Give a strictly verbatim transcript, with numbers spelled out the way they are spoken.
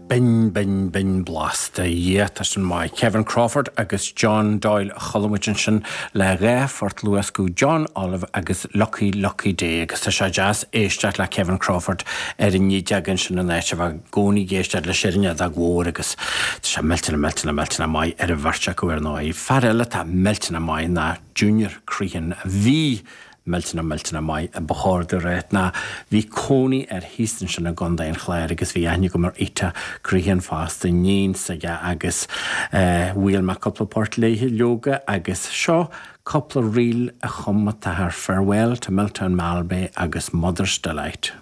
Binn binn binn blasta yeah tá sin maith. Kevin Crawford agus John Doyle a chuala muid ansin le dhá phort luascadh John Olive agus Lucky Lucky Day agus tá sé deas éisteacht le Kevin Crawford ar an fhidil ansin in áit a bheith i gcónaí ag éisteacht le ar an fheadóg mhór agus tá sé millteanach millteanach millteanach maith ar an bheirt acu ar ndóigh. Fear eile atá millteanach maith ná Junior Crehan a bhí millteanach millteanach maith a ba chóir domh a rá ná bhí cónaí air thíos ansin i gContae an Chláir agus bhí aithne agam ar Ita Crehan fosta iníon s'aige agus bhuail mé cúpla port léithe leoga agus seo cúpla ríl a chum an t-athair Farewell to Miltown Malbay agus Mother's Delight.